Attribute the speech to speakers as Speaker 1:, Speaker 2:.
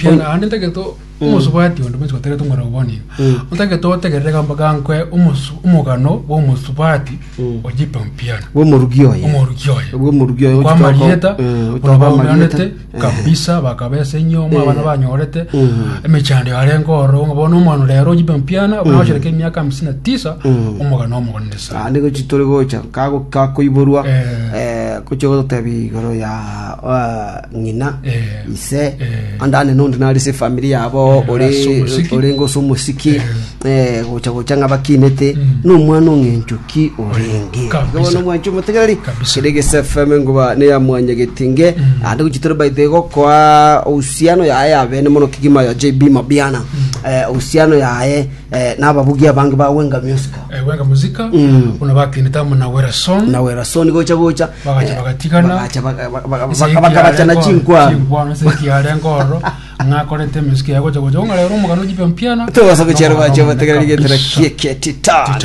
Speaker 1: Piana ande ntagete omosubati onde bwensi gotegerete omorero bono iga. Ntagete otegerere gamba gankwe omosu omogano bwa omosubati ojipe mpiana.
Speaker 2: Bw'omorugi oye.
Speaker 1: Omorugi oye.
Speaker 2: Bw'omorugi oye
Speaker 1: Kwa
Speaker 2: ochitoka-
Speaker 1: amarieta
Speaker 2: eh,
Speaker 1: buna
Speaker 2: ochoka amarieta.
Speaker 1: baumeranete kabisa bakabesa enyomo abana banyorete emechando yarenge ororo ng'a bono omwana rero ojipe mpiana buna gochereka emiaka hamsini na tisa omogano omogonene sana.
Speaker 2: Naende gochi tore gocha kago- kakoiborwa
Speaker 1: Eh.
Speaker 2: eh, gochia gototebia igoro ya ah, ng'ina
Speaker 1: Eh.
Speaker 2: ise
Speaker 1: Eh.
Speaker 2: ande ane nonde nare ase efamiri yabo
Speaker 1: Eh,
Speaker 2: ore
Speaker 1: ase omosiki.
Speaker 2: orenge ase omosiki eh, gocha gocha ng'a bakinete nomwana ong'encho ki orenge
Speaker 1: Kabisa.
Speaker 2: Igo bono omwanchi omotegereri
Speaker 1: Kabisa.
Speaker 2: kere gese FM engoba neya mwanyagetinge ande gochi tore baite gokoa uhusiano yaye yabene mono kegima ya JB Mabiana eh, uhusiano yaye eh, nababugi abange ba Wenga Music
Speaker 1: Eh, Wenga Muzika buna bakinete amo na Wera Song
Speaker 2: na Wera Song gocha gocha
Speaker 1: Bagacha
Speaker 2: eh,
Speaker 1: bagatigana.
Speaker 2: bagacha baga- baga- baga-
Speaker 1: Ase
Speaker 2: bakabachana
Speaker 1: ekiarenge
Speaker 2: chinkwano
Speaker 1: chinkwano ase ekiarenge ororo ng'akorete emesike yagocha gocha ng'a rero omogano ojibe mpiana
Speaker 2: tobasa gochera
Speaker 1: Nomogano
Speaker 2: bache
Speaker 1: omonene
Speaker 2: bategereri getera
Speaker 1: kabisa.
Speaker 2: kieketitano
Speaker 1: Titano.